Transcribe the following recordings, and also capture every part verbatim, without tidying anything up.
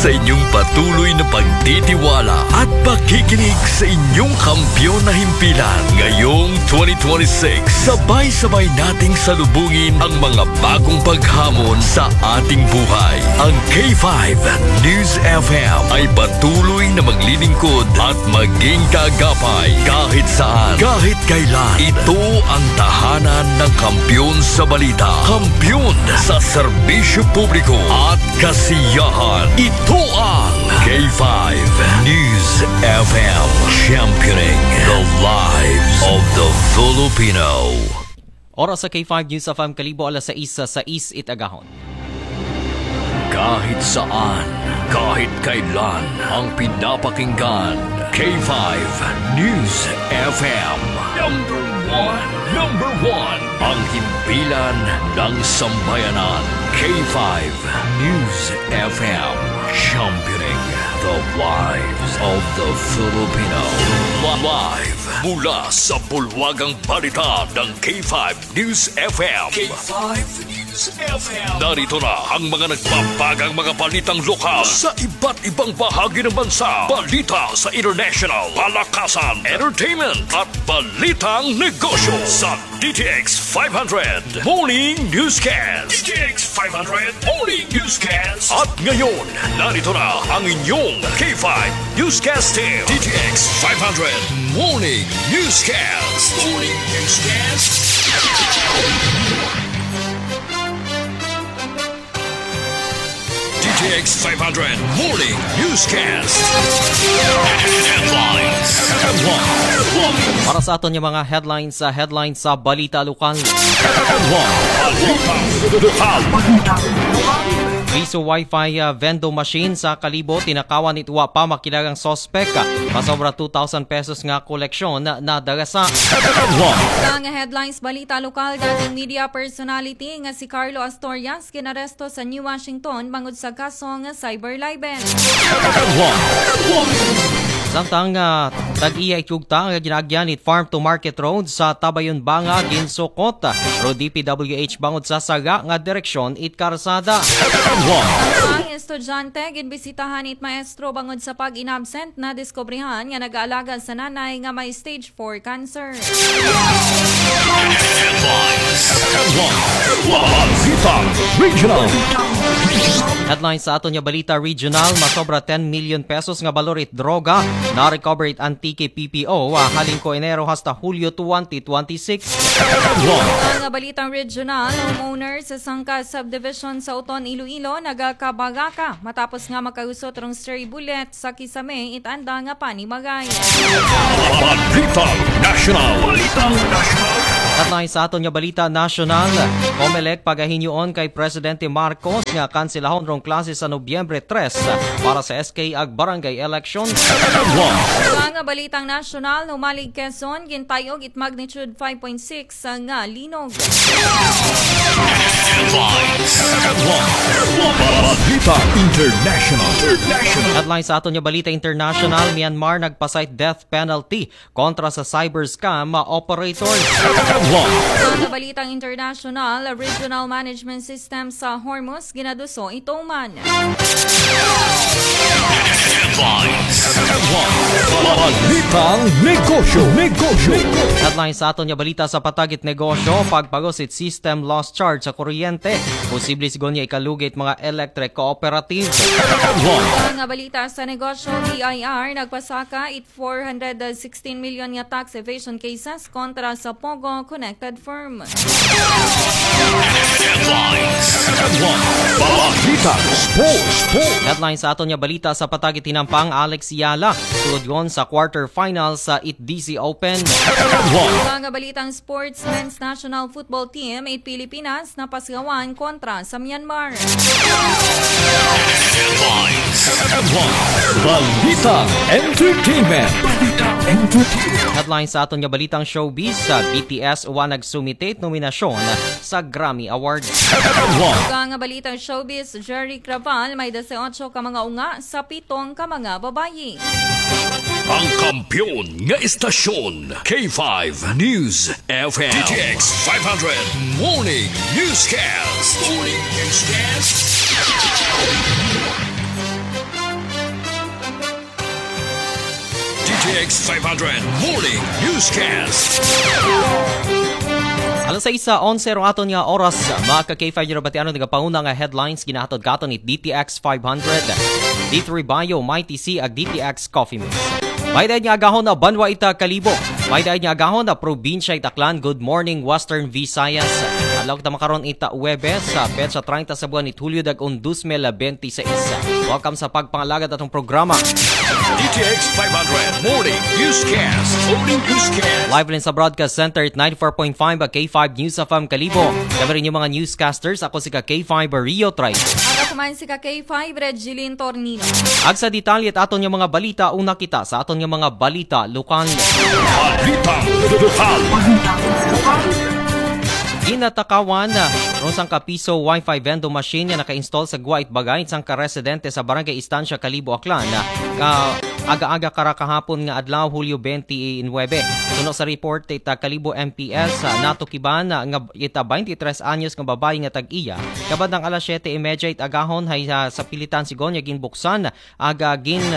sa inyong patuloy na pagtitiwala at pakikinig sa inyong kampiyon na himpilan. Ngayong twenty twenty-six, sabay-sabay nating salubungin ang mga bagong paghamon sa ating buhay. Ang K five News F M ay patuloy na maglilingkod at maging kaagapay kahit saan, kahit kailan. Ito ang tahanan ng kampiyon sa balita, kampiyon sa serbisyo publiko at kasiyahan. Ito ang K five News F M, championing the lives of the Filipino. Oras sa K five News F M, Kalibo, alas sais, sa sais it agahon. Kahit saan, kahit kailan, ang pinapakinggan, K five News F M. Number one, number one, ang himpilan ng sambayanan. K five News F M, championing the lives of the Filipino. Live mula sa bulwagang balita ng K five News F M. K five News F M. Narito na ang mga nagbabagang mga balitang lokal sa iba't ibang bahagi ng bansa. Balita sa international, palakasan, entertainment, at balitang negosyo sa D T X five hundred Morning Newscast. D T X five hundred Morning Newscast. At ngayon, narito na ang inyong K five Newscast Team. D T X five hundred Morning Newscast. Morning Newscast. D T X five hundred Morning Newscast. Headlines. Headlines. Para sa aton nga mga headlines, sa headlines sa balita lokal. Headlines. Balita lokal. Piso Wi-Fi, ah, vending machine sa Kalibo, tinakawan it wa pa makilagang suspek. Masobra two thousand pesos nga koleksyon na, nadara sa. Headlines. Sa nga headlines, balita lokal, dating media personality nga si Carlo Astorias ginaresto sa New Washington bangod sa kasong cyber libel. Samtang, ah, tag-iya ikugta nga ginaagyan it Farm to Market Road sa Tabayon Banga ginsukot, ah, ro D P W H bangod sa sara nga direksyon it karsada. Ang estudyante ginbisitahan it maestro bangod sa pag-inabsent, nadiskubrihan nga nag-aalaga sa nanay nga may stage four cancer. Headlines. Headlines. Balitang Regional. Headlines sa aton nga balita regional, masobra ten million pesos nga balor it droga na-recover it Antique P P O, ah, halin ko Enero hasta Hulyo twenty twenty-six. Headlines. Ang balitang regional, homeowner sa Sangka Subdivision sa Oton, Iloilo, nagakabaraka matapos nga makausot rong stray bullet sa kisame it anda nga panimalay. Balitang National. Balitang National. At na sa aton nga balita nasyonal, Comelec pagahinyoon kay Presidente Marcos nga kanselahon rong klase sa Nobyembre tres para sa S K ag barangay election. Mga balitang nasyonal, humalig Quezon, gintayog it magnitude five point six nga linog. Headlines. Headlines. Balita International. International. Headlines sa aton nga balita international, Myanmar nagpasayt death penalty kontra sa cyber scam operator. Headlines. Sa balitang international, regional management system sa Hormuz ginaduso ituman. Headlines. Headlines. Balitang negosyo. Negosyo. Headlines sa aton nga balita sa patag it negosyo, pagpagos it system loss charge sa kuryente. Posible sigon nga ikalugi it mga electric cooperative. Headlines. Mga balita sa negosyo, B I R nagpasaka it four hundred sixteen million nga tax evasion cases kontra sa Pogo connected firm. Headlines. Headlines. Balita Sports. Sports. Headlines sa aton nga balita sa patag it hinampang, Alex Eala sulod gon sa quarter final sa it D C Open. Headlines. Mga balitang sports, men's national football team it Pilipinas napasgawan kontra sa Myanmar. Headlines. Headlines. Balita Entertainment. Balita Entertainment. Headlines sa aton nga balitang showbiz, sa B T S wa nagsumite it nominasyon sa Grammy Awards. Headlines. Mga balitang showbiz, Jerry Craval may dose otso ka mga unga sa pitong ka mga babayi. Ang kampiyon nga istasyon, K five News F M. D T X five hundred Morning Newscast. Morning Newscast. X five hundred Morning Newscast. Alas sais onse ro aton nga oras, mga ka K five Eurobatiano, nga panguna nga headlines ginahatod katon ni D T X five hundred, D three Bio, Mighty C, ag D T X Coffee Mix. May daid nga agahon na banwa ita Kalibo. May daid nga agahon na probinsya it Aklan. Good morning, Western Visayas. Adlaw kita makaron ita Huwebes, sa petsa treinta sa buwan it Hulyo, dag-on dos mil benti sais. Welcome sa pagpangalagad atong programa. D T X five hundred Morning Newscast. Morning Newscast. Live rin sa Broadcast Center at ninety-four point five K five News F M Kalibo. Kami rin yung mga newscasters. Ako si ka K five Rio Trice. Ako man si ka K five Red Jilin Tornino. Ag sa detalye at aton yung mga balita, una kita sa aton yung mga balita lokal. Balitang lokal. Ginatakawan rong sangka piso Wi-Fi vending machine nga naka-install sa guwa it bagay sang ka residente sa Barangay Estancia, Kalibo, Aklan, nga aga-aga kara kahapon nga adlaw, Hulyo twenty-nine. Suno sa report ita Kalibo M P S, ah, natukiban nga ita twenty-three anyos nga babae nga tag-iya. Kabandang alas siyete y media it agahon hay, ah, sa pilitan sigon nga ginbuksan aga gin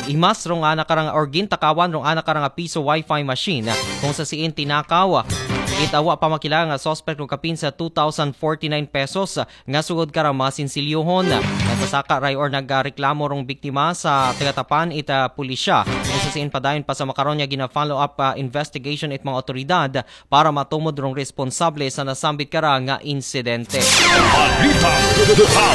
imas rong ana karang or gintakawan rong ana karang piso Wi-Fi machine, kung sa siin tinakaw ita wa pa makilala nga suspect rong kapin sa two thousand forty-nine pesos nga sugod kara masinsilyohon. Nagsasaka ray or nagreklamo rong biktima sa tagatapan ita pulisya, kung sa siin padayon pa sa makaron nga gina-follow up, ah, investigation it mga otoridad para matumod rong responsable sa nasambit kara nga insidente. Balitang lokal.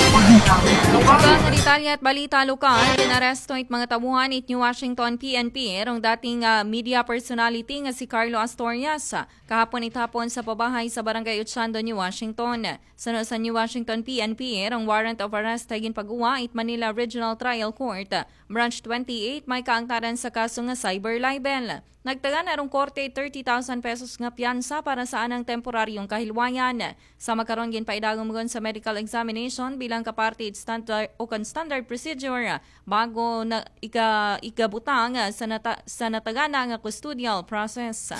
Sa mga detalye at balita lokal, ginaresto it mga tauhan it New Washington P N P rong dating, ah, media personality nga si Carlo Asturias. Kahapon it hapon sa pabahay sa Barangay Ochando, New Washington. Suno sa New Washington P N P, rong warrant of arrest hay ginpaguwa it Manila Regional Trial Court, Branch twenty-eight, may kaangtaran sa kaso nga cyber libel. Nagtagana rong korte thirty thousand pesos nga piyansa para sa anang temporaryong kahilwayan. Sa makaron, ginpaidagom gun sa medical examination bilang kaparte it standard o kan standard procedure bago na ika, ikabutang sa, nata, sa natagana nga custodial process.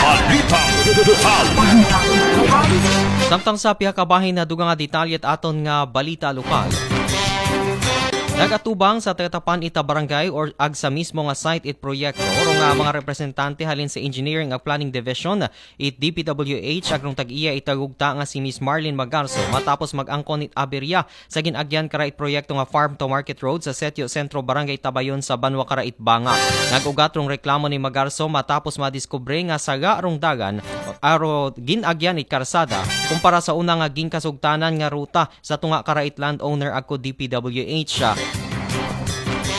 Balitang lokal. Samtang sa pihak kabahin na dugang nga detalye at aton nga balita lokal. Nagatubang sa tagatapan ita barangay or ag sa mismo nga site it proyekto, oro nga mga representante halin sa Engineering ag Planning Division it D P W H, ag rong tag-iya ita gugta nga si Miss Marlene Magarso, matapos mag-angkon it aberya sa gin-agyan kara it proyekto nga Farm to Market Road sa Setio Centro, Barangay Tabayon sa Banwa Kara it Banga. Nag-ugat rong reklamo ni Magarso matapos madiskubre nga saga rong dagan aro gin-agyan it karsada kumpara sa una nga ginkasugtanan nga ruta sa tunga kara it landowner agko D P W H.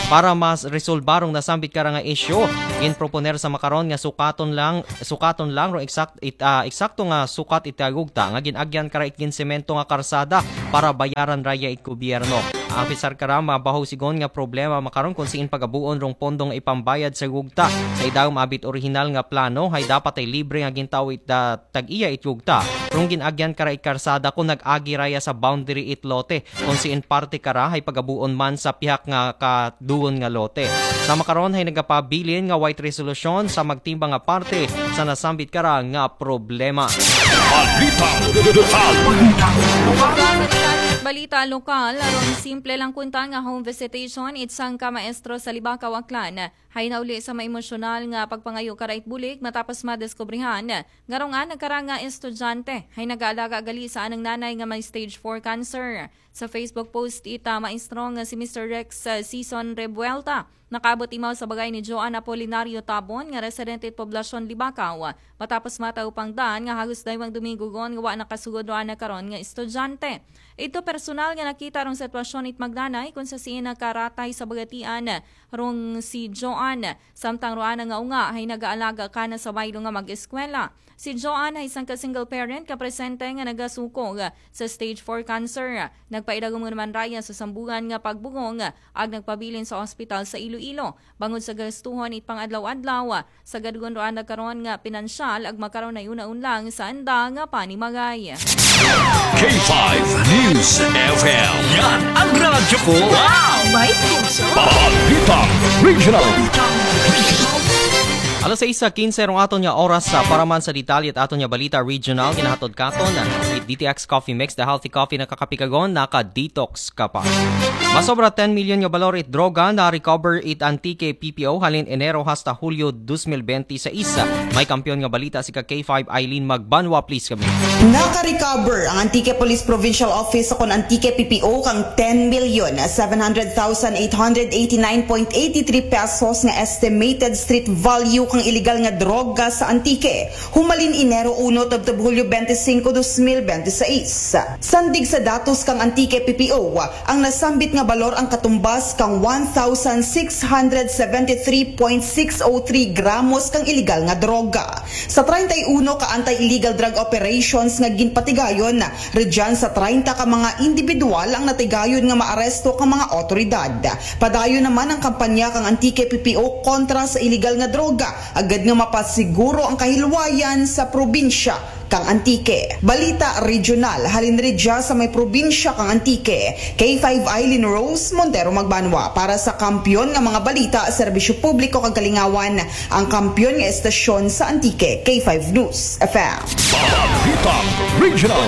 Para mas resolba rong nasambit kara nga isyu, ginproponer sa makaron nga sukaton lang, sukaton lang rong eksakto it, ah, eksakto nga sukat it gugta nga gin-agyan kara it ginsemento nga karsada para bayaran raya it gobyerno. Apisar kara, mabaho sigon nga problema makaron kung siin pagabuon rong pondo nga ipambayad sa gugta. Sa idagom abi it orihinal nga plano hay dapat hay libre nga gintao it, ah, tag-iya it gugta. Rong gin-agyan kara it karsada kung nag-agi raya sa boundary it lote kung siin parte kara hay pagabuon man sa pihak nga kadugon nga lote. Sa makaron hay nagapabilin nga way it resolusyon sa magtimbang nga parte sa nasambit kara nga problema. Balitang lokal. Balita lokal, aron simple lang kunta nga home visitation it sangka maestro sa Libacao, Aklan hay nauli sa maemosyonal nga pagpangayo kara it bulig matapos madiskubrihan nga rong ana kara nga estudyante hay nag-aalaga gali sa anang nanay nga may stage four cancer. Sa Facebook post ita maestro nga si Mister Rex, uh, Season Rebuelta, nakaabot imaw sa bagay ni Joan Apolinario Tabon nga residente it poblasyon Libacao, matapos mataw pangdan nga hagos daywang Domingo gon nga wa nakasugod rong ana karon nga estudyante. Ito personal nga nakita rong sitwasyon it magnanay kung sa siin nakaratay sa bagatian rong si Joan, samtang rong ana nga unga hay nag-aalaga kana sa baylo nga mag-eskwela. Si Joan hay sangka single parent nga presente nga nagasukog sa stage four cancer. Nagpaidagom naman raya sa sambugan nga pagbugong ag nagpabilin sa ospital sa Iloilo. Bangod sa gastuhon it pang-adlaw-adlaw, sa gadgon rong ana karon nga pinansyal ag makaron hay unaon lang sa anda nga panimagay. K five News F M. Yan ang radyo ko. Wow! May puso. Balitang Regional. Alas sais kinse rong aton nga oras sa para man sa detalye it aton nga balita regional, ginahatod katon it D T X Coffee Mix, the healthy coffee na kakapikagon, naka-detox ka pa. Masobra ten milyon nga balor it droga na recover it Antique P P O halin Enero hasta Hulyo dos mil benti sais. May kampiyon nga balita si ka K five Eileen Magbanwa, please kami. Naka-recover ang Antique Police Provincial Office sa kon Antique P P O kang ten million seven hundred thousand eight hundred eighty-nine point eighty-three pesos nga estimated street value kang illegal nga droga sa Antique. Humalin Enero uno tubtob Hulyo benti singko, dos mil benti sais. Sandig sa datos kang Antique P P O, ang nasambit nga balor ang katumbas kang one thousand six hundred seventy-three point six oh three gramos kang illegal nga droga. Sa treinta y uno ka anti-illegal drug operations nga ginpatigayon, rugyan sa treinta ka mga individual ang natigayon nga maaresto ka mga otoridad. Padayon naman ang kampanya kang Antique P P O kontra sa illegal nga droga, agud nga mapasiguro ang kahilwayan sa probinsya kang Antique. Balita regional, halin rugya sa may probinsya kang Antique. K five Eileen Rose Montero Magbanwa para sa kampiyon nga mga balita, serbisyo publiko kag kalingawan, ang kampiyon nga estasyon sa Antique, K five News F M. Balita regional.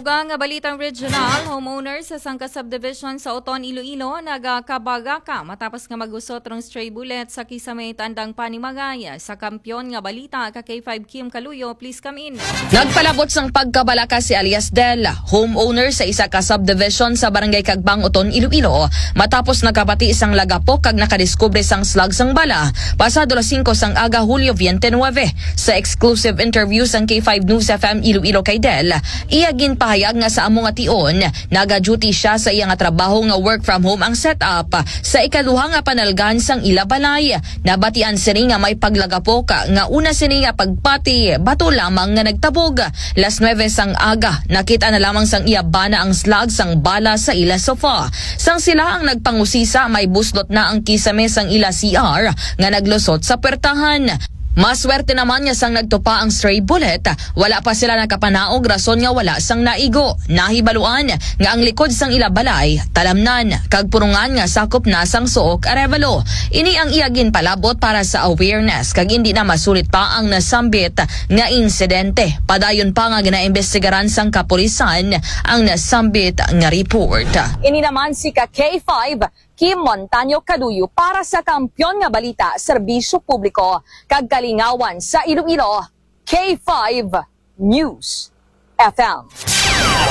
Dugang nga balitang regional, homeowners sa sangka subdivision sa Oton, Iloilo, nagakabagaka matapos nga magusot rong stray bullet sa kisame it andang panimagay. Sa kampiyon nga balita, ka K five Kim Kaluyo, please come in. Nagpalabot sang pagkabalaka si alias Del, homeowner sa isa ka subdivision sa Barangay Kagbang, Oton, Iloilo, matapos nakabati sang lagapok kag nakadiskubre sang slag sang bala pasado alas singko sang aga, Hulyo bente nuwebe. Sa exclusive interview sang K five News F M Iloilo kay Del, iya ginpahayag nga sa amo nga tion, naga-duty siya sa iya nga trabaho nga work from home ang setup sa ikaduha nga panalgan sang ila balay. Nabatian sini nga may paglagapok nga una sini nga pagpati bato lamang nga nagtabog. Las nuwebe sang aga, nakit-an na lamang sang iya bana ang slag sang bala sa ila sofa. Sang sila ang nagpangusisa, may buslot na ang kisame sang ila C R nga naglusot sa puwertahan. Maswerte naman nga sang nagtupa ang stray bullet, wala pa sila nakapanaog rason nga wala sang naigo. Nahibaluan nga ang likod sang ila balay talamnan kag purungan nga sakop na sang Sook, Arevalo. Ini ang iya ginpalabot para sa awareness kag indi na masulit pa ang nasambit nga insidente. Padayon pa nga ginaimbestigaran sang kapulisan ang nasambit nga report. Ini naman si ka K five Kim Montaño Kaduyo para sa Kampiyon nga Balita, Serbisyo Publiko kag Kalingawan sa Iloilo, K five News F M.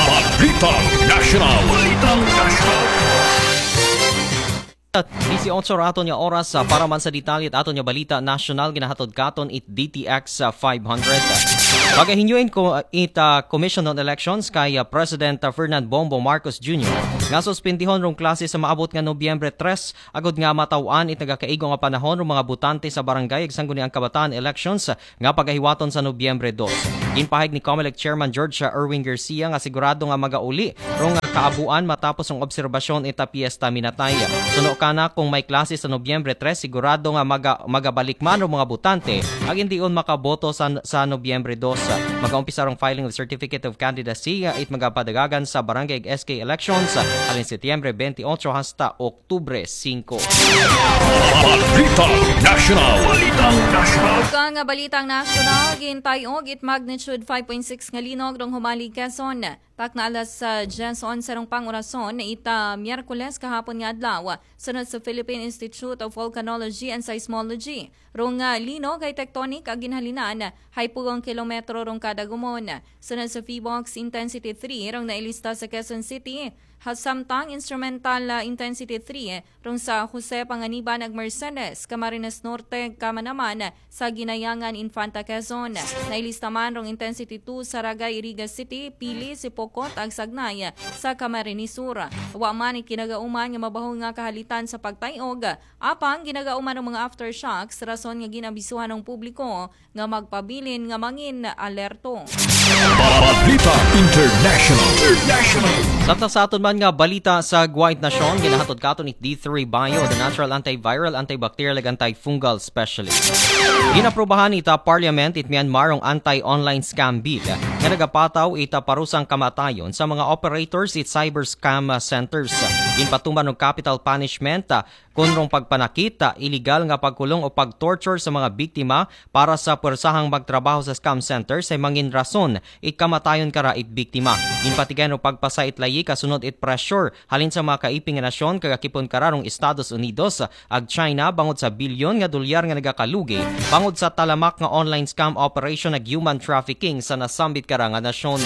Balita National. Balita National. Disiotso ra aton nga oras, ah, para man sa detalye it aton nga balita nasyonal, ginahatod katon it D T X, ah, five hundred. Pagahinyoin ko, ah, it, ah, Commission on Elections kay, ah, President, ah, Ferdinand Bongbong Marcos Junior nga suspendihon rong klase sa maabot nga Nobyembre tres, agud nga mataw-an it nagakaigo nga panahon rong mga botante sa barangay ag sangguniang kabataan elections nga pagahiwaton sa Nobyembre dos. Ginpahayag ni Comelec Chairman George Erwin Garcia nga sigurado nga magauli rong kaabuan matapos ang obserbasyon ita piyesta minatay. Suno kana, kung may klase sa Nobyembre tres, sigurado nga maga-, magabalik man rong mga botante ag indion makaboto sa, sa Nobyembre dos. Magaumpisa rong filing of Certificate of Candidacy it magapadagagan sa barangay ag S K elections halin Setyembre bente otso hasta Oktubre singko. Balita National. Balita National. Sa nga balitang nasyonal, gintay-og it magnitude five point six nga linog rong humali Quezon. Takna alas, ah, diyes onse rong pangurason, ita Miyerkules kahapon nga adlaw, sunod sa Philippine Institute of Volcanology and Seismology. Rong, ah, linog hay tectonic ag ginhalinan hay pulong kilometro rong kada gumon. Sunod sa PHIVOLCS, intensity three rong nailista sa Quezon City. Ha, samtang instrumental, ah, intensity three rong sa Jose Panganiban ag Mercedes, Camarines Norte, Camanaman, sa Ginayangan, Infanta Quezon. Nailista man rong intensity two sa Ragay, Iriga City, Pili, Sipocot ag Sagnay sa Camarines Sur. Wa man it kinagauman nga mabaho nga kahalitan sa pagtay-og, apang ginagauman ang mga aftershocks rason nga gin-abisuhan ang publiko nga magpabilin nga mangin alerto. Balita International. International. Samtang sa aton Nga balita sa Guwait Nasyon, ginahatod katon it D three Bio, the natural antiviral, antibacterial, ug antifungal specialist. Ginaprubahan ita Parliament it Myanmar rong anti-online scam bill nga nagapataw ita parusang kamatayon sa mga operators it cyber scam centers. Ginpatuman og capital punishment, ah, kun rong pagpanakit, ah, illegal nga pagkulong o pag-torture sa mga biktima para sa puwersahang magtrabaho sa scam centers ay mangin rason ikamatayon kara it biktima. Ginpatigayon og pagpasa it layi kasunod it pressure halin sa mga kaiping nga nasyon kagakipon kararong Estados Unidos ag China bangod sa bilyon nga dolyar nga nagakalugi bangod sa talamak nga online scam operation ag human trafficking sa nasambit kara nga nasyon.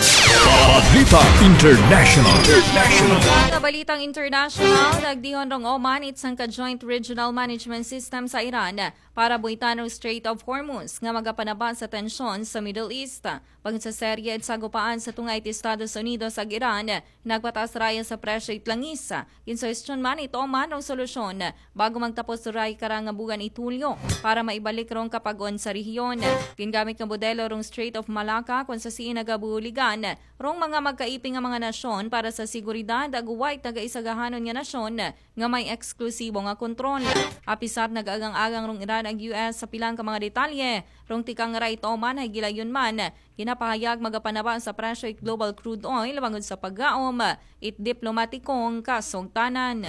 Balita International. International. Sa balitang international, nagdihon rong Oman it sangka Joint Regional Management System sa Iran para buhitan ang Strait of Hormuz nga magapanaba sa tensyon sa Middle East. Bangod sa serye it sagupaan sa tunga it Estados Unidos ag Iran, nagpataas raya sa presyo it langis. Ginsuhestyon man it Oman rong solusyon bago magtapos raya kara nga buwan it Hulyo para maibalik rong kapag-on sa rehiyon. Gingamit nga modelo rong Strait of Malacca kung sa siin nagabuligan rong mga magkaiping nga mga nasyon para sa seguridad ag wa it nagaisagahanon nga nasyon nga may eksklusibo nga kontrol. Apisar nagaagang-agang rong Iran ag U S sa pilang ka mga detalye, rong tikang ra it Oman hay gilayon man, ginapahayag magapanaba sa presyo it global crude oil bangod sa paggaom it diplomatikong kasugtanan.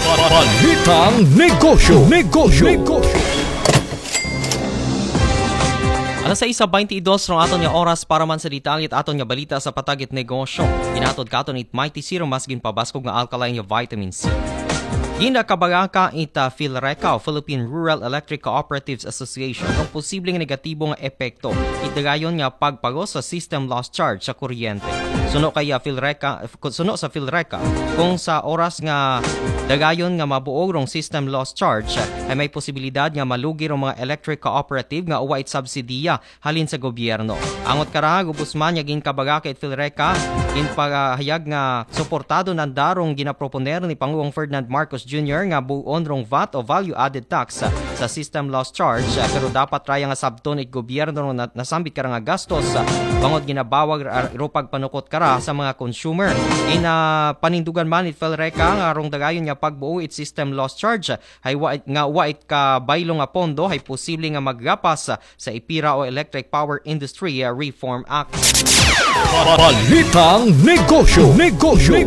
Balitang negosyo. Negosyo. Negosyo. Alas sais baynte dos rong aton nga oras para man sa detalye it aton nga balita sa patag it negosyo. Ginatod katon it Mighty Serum mas ginpabaskog nga alkaline nga vitamin C. Ginakabaraka ita Philreca o Philippine Rural Electric Cooperatives Association ang posibleng negatibo nga epekto it dagayon nga pagpagos sa system loss charge sa kuryente. Suno kay, ah, Philreca, suno sa Philreca, kung sa oras nga dagayon nga mabuog rong system loss charge, ay may posibilidad nga malugi rong mga electric cooperative nga wa it subsidiya halin sa gobyerno. Angot kara, gubos man nga ginkabaraka it Philreca, ginpahayag nga suportado nanda rong ginaproponer ni Pangulong Ferdinand Marcos Junior nga buon rong vat o value added tax sa system loss charge, pero dapat raya nga sabton it gobyerno rong na-, nasambit kara nga gastos, bangod ginabawag ra-, ro pagpanukot kara sa mga consumer. Ginapanindugan man it Philreca nga rong dagayon nga pagbuo it system loss charge hay wa it, nga wa it kabaylo nga pondo hay posible nga maggapas sa EPIRA o Electric Power Industry Reform Act. Balitang negosyo. Negosyo.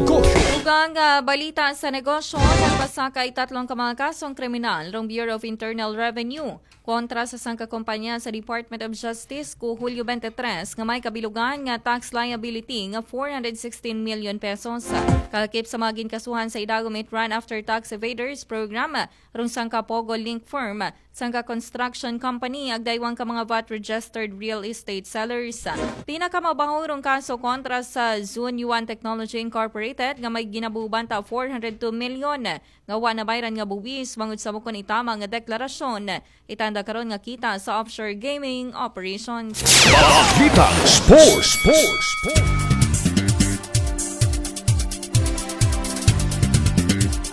Dugang, ah, balita sa negosyo, nagpasaka it tatlong ka mga kasong kriminal rong Bureau of Internal Revenue kontra sa sangka kompanya sa Department of Justice ku Hulyo twenty-three nga may kabilugan nga tax liability nga four hundred sixteen million pesos. Kalakip sa mga ginkasuhan sa idagom it Run After Tax Evaders Program, rong sangka Pogo Link Firm, sangka construction company, ag daywang ka mga vat registered real estate sellers. Pinakamabaho rong kaso kontra sa Zun Yuan Technology Incorporated nga may ginabuban ta four hundred two million nga wa nabayran nga buwis bangod sa bukon itama nga deklarasyon. Itanda karon nga kita sa offshore gaming operations. Balitang sports. Sports. Sports.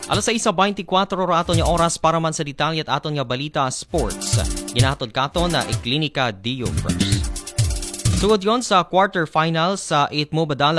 Alas sais baynte kwatro ra aton nga oras para man sa detalye it aton nga balita sports. Ginahatod katon ni Klinika Dio Fresh. Sugod yon sa quarterfinals sa it Mubadala